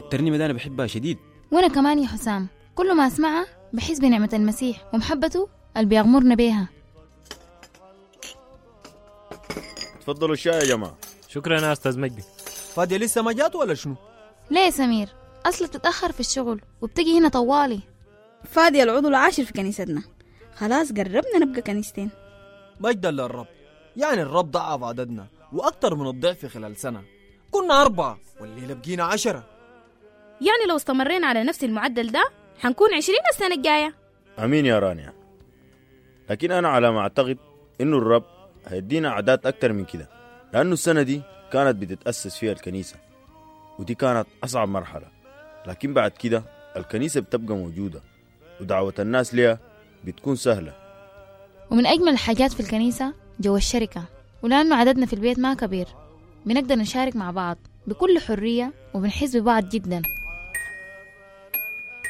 الترنيمة دي أنا بحبها شديد. وأنا كمان يا حسام، كل ما أسمعها بحس بنعمة المسيح ومحبته اللي بيغمرنا بيها. تفضلوا الشاي يا جماعة. شكرا يا أستاذ مجدي. فادية لسه ما جات ولا شنو؟ ليه يا سمير؟ أصلا بتتأخر في الشغل وبتجي هنا طوالي. فادية العضو العاشر في كنيستنا، خلاص قربنا نبقى كنيستين. مجدا للرب، يعني الرب ضعف عددنا وأكتر من الضعف خلال سنة. كنا 4 والليلة بقينا 10. يعني لو استمرينا على نفس المعدل ده حنكون 20 السنة الجاية. أمين يا رانيا، لكن أنا على ما أعتقد إنه الرب هيدينا أعداد أكتر من كده، لأنه السنة دي كانت بتتأسس فيها الكنيسة، ودي كانت أصعب مرحلة. لكن بعد كده الكنيسة بتبقى موجودة ودعوة الناس ليها بتكون سهلة. ومن أجمل الحاجات في الكنيسة جو الشركة، ولأنه عددنا في البيت ما كبير بنقدر نشارك مع بعض بكل حرية وبنحس ببعض جدا.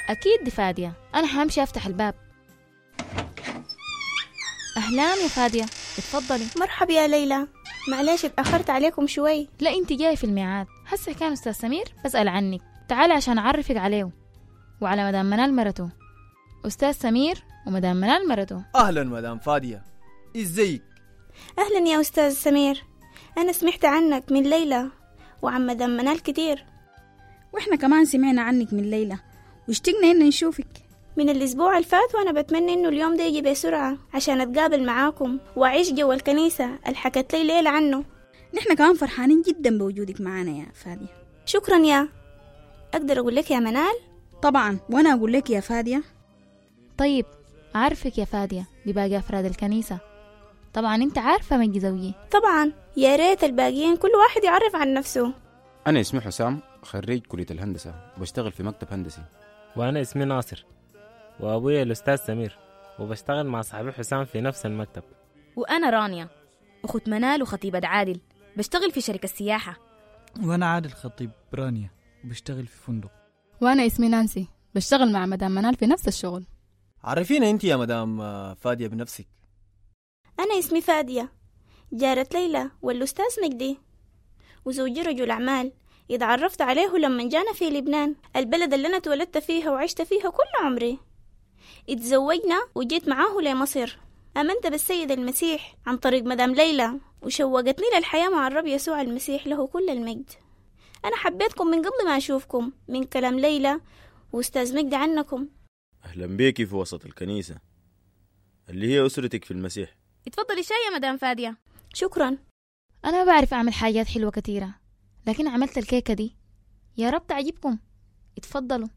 أكيد دي فادية، أنا حامشي أفتح الباب. أهلان يا فادية، اتفضلي. مرحبا يا ليلى، معلش اتأخرت عليكم شوي. لا انت جاي في الميعاد. هسه كان أستاذ سمير بسأل عنك، تعالي عشان أعرفك عليه وعلى مدام منال مرته. أستاذ سمير ومدام منال مرته. أهلا مدام فادية، إزيك؟ أهلا يا أستاذ سمير، أنا سمعت عنك من ليلى وعن مدام منال كتير. وإحنا كمان سمعنا عنك من ليلى واشتقنا إن نشوفك. من الأسبوع الفات وأنا بتمنى إنه اليوم ده يجي بسرعة عشان أتقابل معاكم وأعيش جوا الكنيسة اللي حكت لي ليلى عنه. نحن كمان فرحانين جدا بوجودك معانا يا فادية. شكرا يا أقدر أقول لك يا منال؟ طبعا، وأنا أقول لك يا فادية. طيب أعرفك يا فادية بباقي أفراد الكنيسة. طبعا أنت عارفة مجدي زوجي. طبعا، يا ريت الباقيين كل واحد يعرف عن نفسه. أنا اسمي حسام، خريج كلية الهندسة وبشتغل في مكتب هندسي. وأنا اسمي ناصر، وأبويا الأستاذ سمير، وبشتغل مع صاحبي حسام في نفس المكتب. وأنا رانيا، أخت منال وخطيبة عادل، بشتغل في شركة السياحة. وأنا عادل خطيب رانيا، وبشتغل في فندق. وأنا اسمي نانسي، بشتغل مع مدام منال في نفس الشغل. عرفينا أنت يا مدام فادية بنفسك. أنا اسمي فادية، جارة ليلى والأستاذ مجدي، وزوجي رجل أعمال اتعرفت عليه لما جانا في لبنان، البلد اللي أنا اتولدت فيها وعشت فيها كل عمري. اتزوجنا وجيت معاه لمصر. آمنت بالسيد المسيح عن طريق مدام ليلى، وشوقتني للحياة مع الرب يسوع المسيح له كل المجد. أنا حبيتكم من قبل ما أشوفكم، من كلام ليلى وأستاذ مجدي عنكم. أهلا بيكي في وسط الكنيسة اللي هي أسرتك في المسيح. اتفضلي شاي يا مدام فادية. شكرا. أنا ما بعرف أعمل حاجات حلوة كثيرة، لكن عملت الكيكة دي، يا رب تعجبكم. اتفضلوا.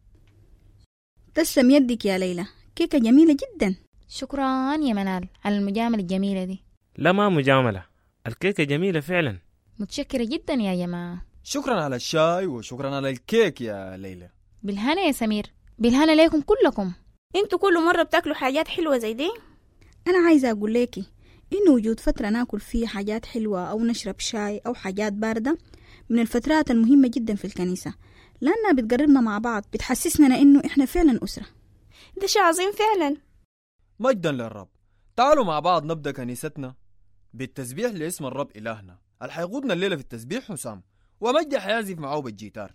تسلم يدك يا ليلى، كيكة جميلة جدا. شكرا يا منال على المجاملة الجميلة دي. لا ما مجاملة، الكيكة جميلة فعلا. متشكرة جدا يا جماعة. شكرا على الشاي وشكرا على الكيك يا ليلى. بالهنا يا سمير، بالهنا ليكم كلكم. انتوا كل مرة بتاكلوا حاجات حلوة زي دي؟ أنا عايزة أقول لكي إنه وجود فترة ناكل فيها حاجات حلوة أو نشرب شاي أو حاجات باردة من الفترات المهمة جدا في الكنيسة، لأنها بتقربنا مع بعض، بتحسسنا إنه إحنا فعلا أسرة. ده شيء عظيم فعلا. مجدا للرب. تعالوا مع بعض نبدأ كنيستنا بالتسبيح لاسم الرب إلهنا. اللي حيقودنا الليلة في التسبيح حسام، ومجدي حيعزف معه بالجيتار.